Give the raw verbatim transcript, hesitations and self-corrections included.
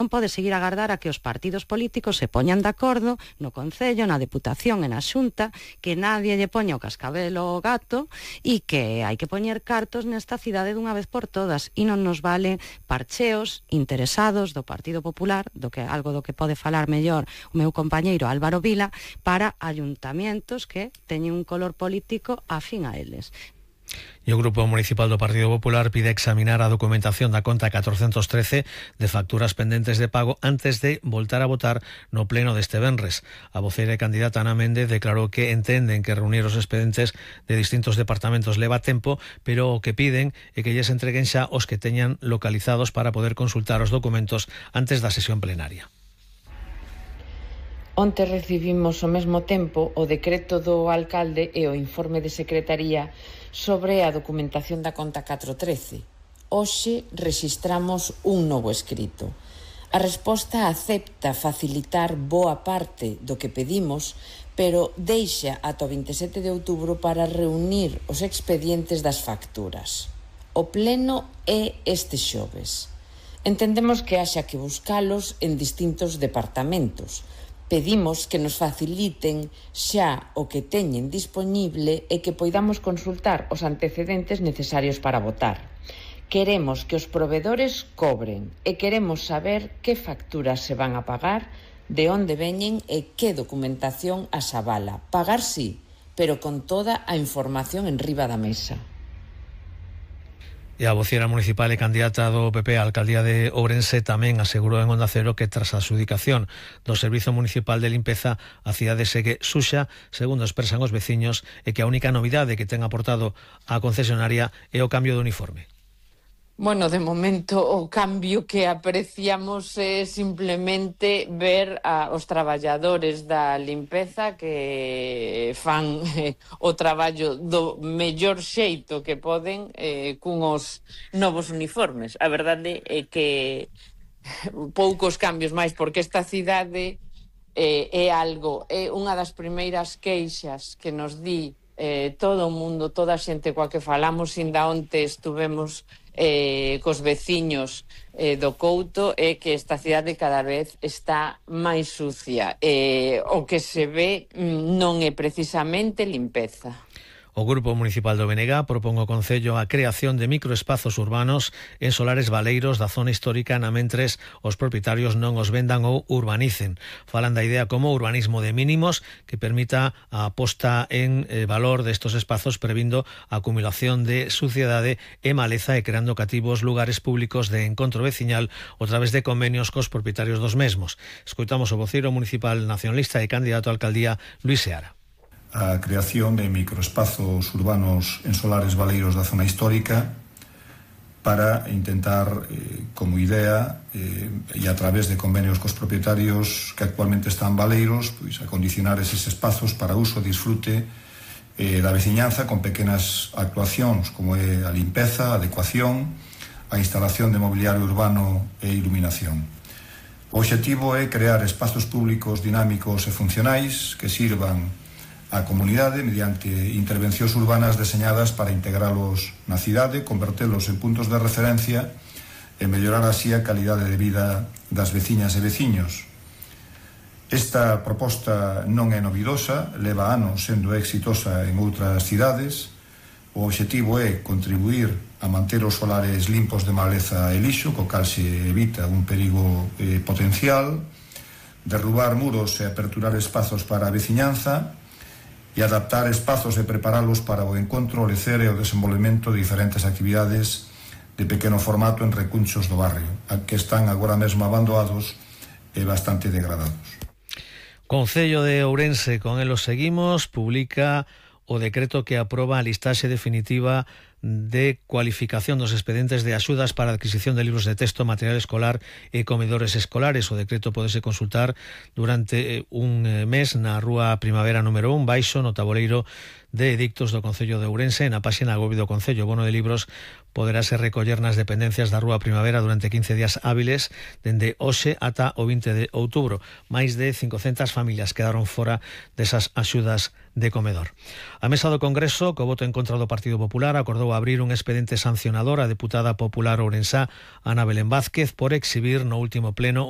Non pode seguir a agardar a que os partidos políticos se poñan de acordo no Concello, na Deputación e na Xunta, que nadie lle poña o cascabel ao gato e que hai que poñer cartos nesta cidade dunha vez por todas, e non nos valen parcheos interesados do Partido Popular, do que algo do que pode falar mellor o meu compañeiro Álvaro Vila, para ayuntamientos que teñen un color político afín a eles. E o Grupo Municipal do Partido Popular pide examinar a documentación da conta catrocentos trece de facturas pendentes de pago antes de voltar a votar no pleno deste venres. A voceira e candidata Ana Méndez declarou que entenden que reunir os expedientes de distintos departamentos leva tempo, pero o que piden é que lles entreguen xa os que teñan localizados para poder consultar os documentos antes da sesión plenaria. Onte recibimos ao mesmo tempo o decreto do alcalde e o informe de secretaría sobre a documentación da conta catro trece. Hoxe rexistramos un novo escrito. A resposta acepta facilitar boa parte do que pedimos, pero deixa ata o vinte e sete de outubro para reunir os expedientes das facturas. O pleno é este xoves. Entendemos que haxa que buscalos en distintos departamentos. Pedimos que nos faciliten xa o que teñen dispoñible e que poidamos consultar os antecedentes necesarios para votar. Queremos que os provedores cobren e queremos saber que facturas se van a pagar, de onde veñen e que documentación as avala. Pagar sí, pero con toda a información en riba da mesa. E a vocera municipal e candidata do P P á alcaldía de Ourense tamén asegurou en Onda Cero que tras a adxudicación do Servizo Municipal de Limpeza a cidade segue suxa, segundo expresan os veciños, e que a única novidade que ten aportado a concesionaria é o cambio de uniforme. Bueno, de momento o cambio que apreciamos é simplemente ver a, os traballadores da limpeza que fan eh, o traballo do mellor xeito que poden eh, cunhos novos uniformes. A verdade é que poucos cambios máis, porque esta cidade eh, é algo, é unha das primeiras queixas que nos di eh, todo o mundo, toda a xente coa que falamos. Inda onte estuvemos Eh, cos veciños eh, do Couto, é que esta cidade cada vez está máis sucia. Eh, o que se ve non é precisamente limpeza. O Grupo Municipal do B N G propón ao Concello a creación de microespazos urbanos en solares baleiros da zona histórica na mentres os propietarios non os vendan ou urbanicen. Falan da idea como urbanismo de mínimos que permita a aposta en eh, valor destos espazos, previndo a acumulación de suciedade e maleza e creando cativos lugares públicos de encontro veciñal a través de convenios cos propietarios dos mesmos. Escoitamos o voceiro municipal nacionalista e candidato a alcaldía, Luís Seara. A creación de microespazos urbanos en solares baleiros da zona histórica para intentar, eh, como idea, eh, e a través de convenios cos propietarios que actualmente están baleiros, pois acondicionar eses espazos para uso e disfrute eh, da veciñanza con pequenas actuacións como é a limpeza, a adecuación, a instalación de mobiliario urbano e iluminación. O obxectivo é crear espazos públicos dinámicos e funcionais que sirvan a comunidade mediante intervencións urbanas deseñadas para integralos na cidade, convertelos en puntos de referencia e mellorar así a calidade de vida das veciñas e veciños. Esta proposta non é novidosa, leva anos sendo exitosa en outras cidades. O obxectivo é contribuir a manter os solares limpos de maleza e lixo, co cal se evita un perigo eh, potencial, derrubar muros e aperturar espazos para a veciñanza, e adaptar espazos e preparalos para o encontro, o lecer e o desenvolvemento de diferentes actividades de pequeno formato en recunchos do barrio, que están agora mesmo abandonados e bastante degradados. Concello de Ourense, con el os seguimos, publica o decreto que aproba a listaxe definitiva de cualificación dos expedientes de axudas para a adquisición de libros de texto, material escolar e comedores escolares. O decreto podese consultar durante un mes na Rúa Primavera número un, baixo no taboleiro de edictos do Concello de Ourense, na páxina web do Concello. O bono de libros poderase recoller nas dependencias da Rúa Primavera durante quince días hábiles dende hoxe ata o vinte de outubro. Máis de cincocentas familias quedaron fora desas axudas de comedor. A mesa do Congreso, co voto en contra do Partido Popular, acordou abrir un expediente sancionador a deputada popular ourensá Ana Belén Vázquez por exhibir no último pleno un